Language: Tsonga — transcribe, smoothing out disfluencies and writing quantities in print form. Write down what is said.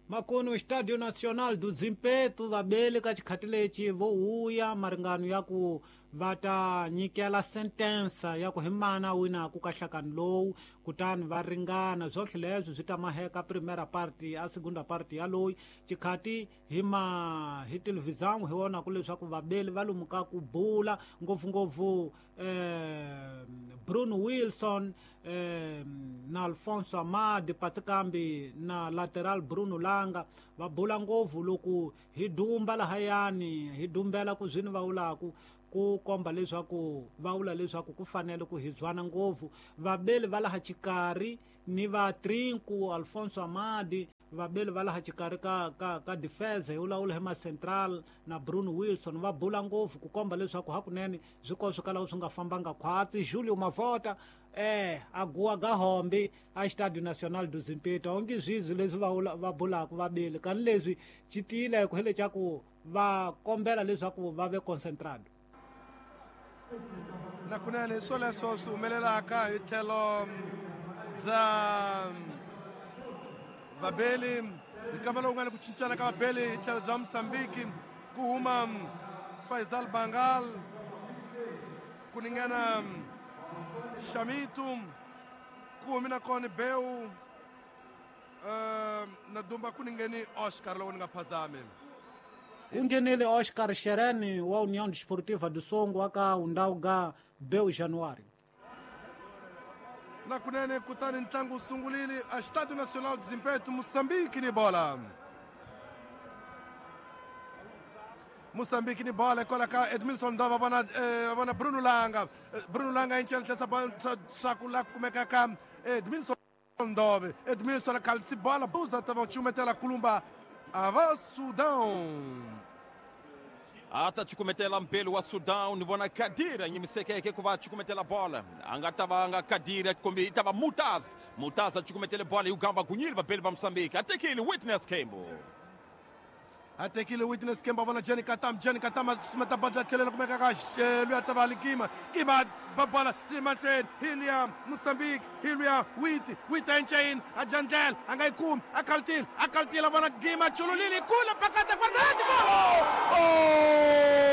Makuno Estádio Nacional do Zimpeto vabeli ka xikhati lexi vo huya maringano ya ku va ta nyikela sentensa ya ku hi mana winaku ka nhlakano lowu, kutani va ringana swotlhe leswi swi ta maheka primera party a segunda party ya loyi xikhati hi ma hi televisão hi vonaku leswaku vabeli va lomu ka ku bula ngopfungopfu Bruno Wilson na Alfonso Amadi Patsikambi na lateral Bruno Langa va bula ngopfu loko hi dumba lahayani hi dumbela ku zwini va vulaku ku komba leswaku va vula leswaku ku fanele ku hi zwana ngopfu vabeli va laha xikarhi ni va Trinco Alfonso Amadi vabeli va laha xikarhi ka defense hi vulavula hi ma central na Bruno Wilson va bula ngopfu ku komba leswaku hakunene swi ko swi kalaku swi nga fambanga khwatsi. Julio Mavota a guwa ga hombi a Estádio Nacional do Zimpeto onge zwizwi leswi va bulaka vabeli kani leswi xi tiyile ku hi leswaku va kombela leswaku va ve concentrado. Na kunene swoleswo swi humelelaka hi tlhelo bya vabeli nkama lowu nga ni ku cincana ka vabeli hi tlhelo bya Mozambique ku huma Faisal Bangal ku ningana Shamitu ku humi na kona Beu na dumba ku ningeni Oscar loko ni nga phazami. Ku nghenile Oscar Shereni wa União Desportiva do Songo aka undhawu ga Beu January. Na kunene kutani ntlangu wu sungulile a Estádio Nacional do Zimpeto, Moçambique ni bola. Moçambique ni bola kwala ka Edmilson Dova vona vona Bruno Langa. Bruno Langa incela tlhesa swaku la kumeka ka Edmilson Ndove. Edmilson a kalitsi bola buza ta va chumetela kulumba ava Sudão. A ta cukumetela mpelo wa Sudão ni vona Kadira nyimisekeke ku va cukumetela bola a nga ta va nga Kadira kumbe i ta va Mutaz. Mutaz a cukumetele bola yi gamba gunyile vabeli va Mozambique a tekile Witness Kembo. A tekile Witness Kembo vona Jenny Katam. Jenny Katam a susumeta bola tlhelela kumeka ka loyi a ta va Likima. Kima ba bola ti mahlweni hi luya Mozambique hi luya Witi. Witi a enceyini a jandlela a nga yi kumi a kalitile a kalitile vona Gima chululile kula pakata kwa golo. Oh!